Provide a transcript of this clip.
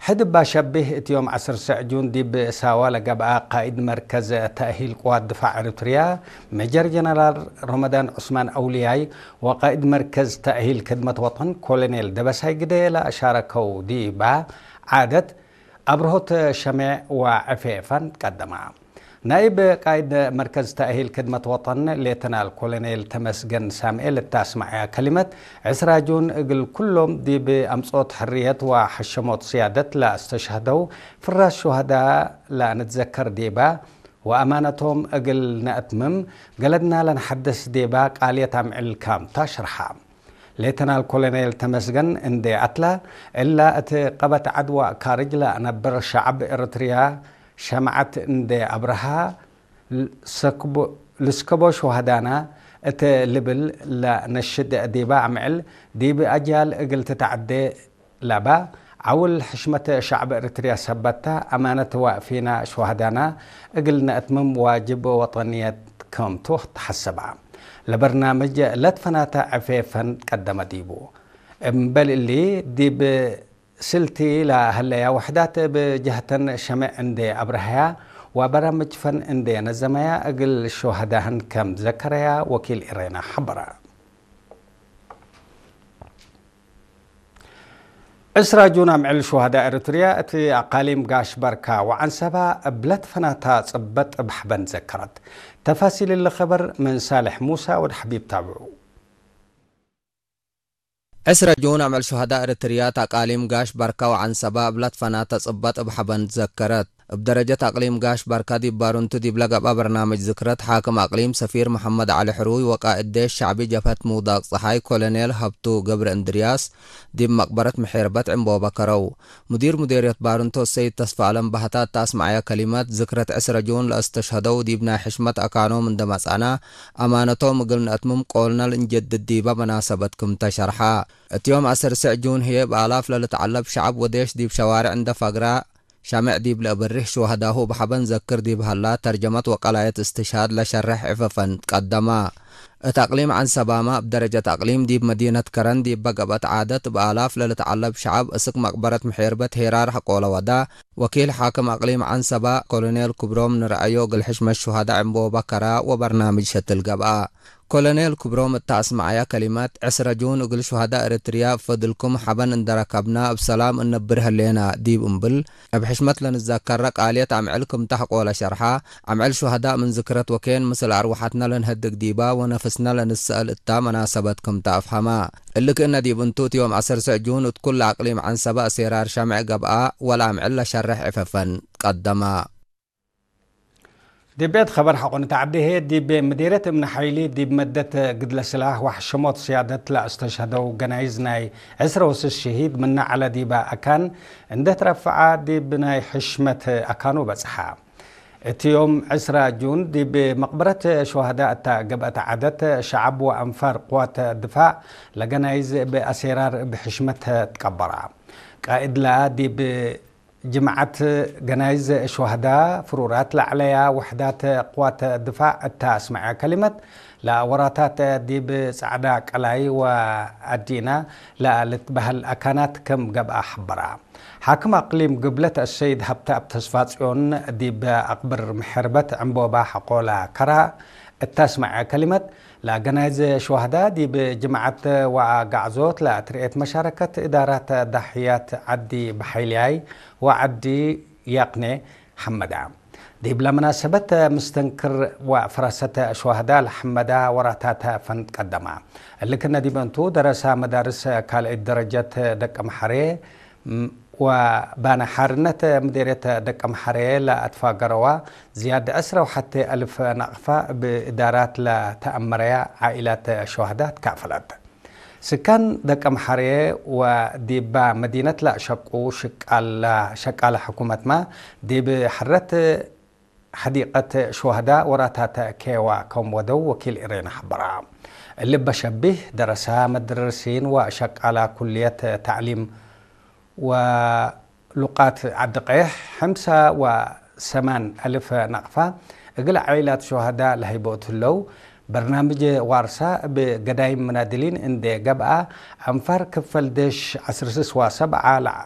ሕድባ ሸቢህ እትዮም ዓሰርተ ጁን ዲብ ሳዋ ለገብኣ ቃኢድ መርከዝ ተእሂል ቅዋት ድፋዕ ኤርትርያ ሜጀር ጀነራል ሮመዳን ዑስማን ኣውልያይ ወቃኢድ መርከዝ ተእሂል ክድመት ወጠን ኮሎኔል ደበሳይ ግደ ለኣሻረከው ዲባ ዓደት ኣብርሆት ሸሜዕ ወዕፌ ፈን ቀደማ። ናይብ ቃይድ መርከዝ ተእሂል ክድመት ወጠን ሌተናል ኮሎኔል ተመስገን ሳምኤል እታስማዕያ ከሊመት፣ ዕስራ ጁን እግል ኩሎም ዲብ ኣምጾት ሕርየት ወሐሸሞት ስያደት ለእስተሸህደው ፍራሽ ሹሃዳ ለንትዘከር ዴባ፣ ወኣማነቶም እግል ነእትምም ገለድና ለንሐደስ ዴባ ቃልየት ኣምዕል ካምታ ሸርሓ። ሌተናል ኮሎኔል ተመስገን እንዴ ኣትላ፣ እላ እት ቀበት ዓድዋ ካርጅ ለነብር ሸዕብ ኤርትርያ ሸምዓት እንዴ ኣብርሃ፣ ልስከቦ ሹሃዳና እት ልብል ለነሽድ ዲባ ኣምዕል፣ ዲብ ኣጅያል እግል ትትዓዴ ለባ፣ ዓውል ሕሽመት ሸዕብ ኤርትርያ ሰበታ፣ ኣማነት ወፊና ሹሃዳና እግል ነእትምም ዋጅብ ወጠንየት ከምቱ ተሐሰባ። ለበርናምጅ ለትፈናተ ዕፌ ፈን ቀደመ ዲቡ። እምበል እሊ፣ ዲብ ስልቲ ለሀለያ ውሕዳት እብ ጀህተን ሸሜዕ እንዴ ኣብረሀያ ወበራምጅ ፈን እንዴ ነዘመያ እግል ሹሃዳህን ከም ዘከረያ ወኪል ኢሬና ሐበረ። ዕስራ ጁን ኣምዕል ሹሃዳ ኤርትርያ እቲ ኣቃሊም ጋሽ በርካ ወዓንሰባ እብ ለትፈናታ ጽበጥ እብ ሐበን ዘከረት። ተፋሲል እሊ ኸበር ምን ሳልሕ ሙሳ ወድ ሐቢብ ታብዑ። ዕስራ ጁን ኣምዕል ሹሃዳ ኤርትርያ ታቃሊም ጋሽ ባርካ ወዓንሰባ እብ ለትፈናተ ጽበጥ እብ ሐበን ትዘከረት። እብ ደረጀት ኣቅሊም ጋሽ ባርካ ዲብ ባሩንቱ ዲብ ለገብኣ በርናምጅ ዝክረት ሓክም ኣቅሊም ሰፊር መሐመድ ዓሊ ሕሩይ ወቃእድ ዴሽ ሸዕቢ ጀብሀት ምውዳቅ ጸሓይ ኮሎኔል ሀብቱ ገብረ እንድርያስ ዲብ መቅበረት ምሒርበት ዕንቦባ ከረው። ሙዲር ሙዴርየት ባርንቶ ሰይድ ተስፋ ኣለም ባህታ እታ ኣስማዕያ ከሊመት፣ ዝክረት ዕስረ ጁን ለእስተሽሀደው ዲብ ናይ ሕሽመት ኣካኖም እንደ መጻና፣ ኣማነቶም እግል ነእትምም ቆልነ ልእንጀድድ ዲባ መናሰበት ክምተ ሸርሓ። እት ዮም ዐሰርተ ጁን ህዬ ብኣላፍ ለልትዓለብ ሸዐብ ወዴሽ ዲብ ሸዋርዕ እንደ ፋግራ ሻምዕ ዲብ ለእበርህ ሽዋህዳሁ እብ ሐበን ዘክር ዲብ ሀላ ተርጀመት ወቀላየት እስትሽሃድ ለሸርሕ ዕፈፈን ቀደማ። እት አቅሊም ዐንሰባማ እብ ደረጀት አቅሊም ዲብ መዲነት ከረን ዲበ ገብአት ዓደት እብ አላፍ ለልትዐለብ ሸዐብ እስክ መቅበረት ምሒርበት ሄራር ሐቆለ ወዳ። ወኪል ሓክም አቅሊም ዐንሰባ ኮሎኔል ክብሮም ንረአዮ እግል ሕሽመት ሹሃዳ ዕንቦባ ከራ ወበርናምጅ ሸትል ገብአ። ኮሎኔል ክብሮም እተ አስመዐያ ከሊመት፣ ዕስረ ጁን እግል ሹሃዳ ኤረትርያ እብ ፈድልኩም ሐበን እንደ ረከብና እብ ሰላም እነብር ህሌና ዲብ እምብል፣ እብ ሕሽመት ለንዘከረ ቃልየት አምዕል ክምተ ሐቆለ ሸርሓ። አምዕል ሹሀዳእ ምን ዝክረት ወኬን ምስል አርወሐትነ ለንሀድግ ዲባ ወነፍስነ ለንሰአል እታ መናሰበት ክምተ አፍሀማ። እሊ ክእነ ዲብ እንቱ እት ዮም ዐሰርተ ጁን እት ኩለ አቅሊም ዐንሰበ አሴራር ሸምዕ ገብአ ወለአምዕል ለሸርሕ ዕፈፈን ቀደማ። ዲብ ቤት ኸበር ሐቆ ንተዐዴ ህዬ፣ ዲብ ምዲርየት እምነ ሐይሊ ዲብ መደት ግድለ ስላህ ወሐሸሞት ስያደት ለአስተሽሀደው ገናይዝ ናይ ዕስረ ወስስ ሸሂድ ምነ ዐለ ዲበ አካን እንዴ ትረፍዐ ዲብ ናይ ሕሽመት አካኑ በጽሐ። እት ዮም ዕስራ ጁን ዲብ መቅበረት ሹሀዳ እታ ገብአት ዐደት ሸዐብ ወአንፋር ቅዋት ድፋዕ ለገናይዝ እብ አሴራር እብ ሕሽመት ትቀበራ። ቃእድላ ዲብ ጅምዓት ገናይዝ ሹሀዳ ፍሩራት ለዐለያ ውሕዳት ቅዋት ድፋዕ እተ አስመዐ ከሊመት፣ ለወራታት ዲብ ጸዕዳ ቀላይ ወአዲና ለልትበህል አካናት ክም ገብአ ሐበራ። ሓክም አቅሊም ግብለት አሰይድ ሀብተአብ ተስፋጽዮን ዲብ አቅብር ምሕርበት ዕንቦባ ሐቆላ ከራ እተ አስመዐ ከሊመት፣ ለገናይዝ ሹሀዳ ዲብ ጅምዓት ወአጋዕዞት ለትርኤት መሻረከት እዳራት ዳሕያት ዐዲ በሐይልያይ ወዐዲ ያቅኔ ሐመዳ። ዲብለ መናሰበት ምስተንክር ወፈረሰተ ሹሀዳ ለሐመዳ ወራታተ ፈንት ቀደማ። እሊ ክነ ዲብ እንቱ ደረሳ መዳርስ ካልአይት ደረጀት ደቀምሐሬ ወባነ ሓርነት ምዴርየት ደቀምሐሬ ለአትፋገረዋ ዝያድ ዕስረ ወሐቴ አልፍ ናቅፋ እብ እዳራት ለተአመረያ ዓኢላት ሹሀዳ ትካፈለት። ስካን ደቀምሐሬ ወዲባ መዲነት ለአሸቁ ሽቃላ፣ ሸቃለ ሕኩመትማ ዲብ ሐረት ሐዲቀት ሹሀዳ ወራታተ ኬዋ ከም ወደው ወኪል ኢሬና ሐበራ። እሊ በሸቢህ ደረሳ መደርሲን ወሸቃላ ኩልየት ተዕሊም ወሉቃት ዐዲ ቀይሕ ሐምሳ ወሰማን አልፍ ናቅፋ እግል ዓኢላት ሹሀዳ ለሀይቦ እት ህለው፣ በርናምጅ ዋርሳ እብ ገዳይም መናድሊን እንዴ ገብአ፣ አንፋር ክፈል ዴሽ ዐስር ስስ ወሰብዓ ለዐ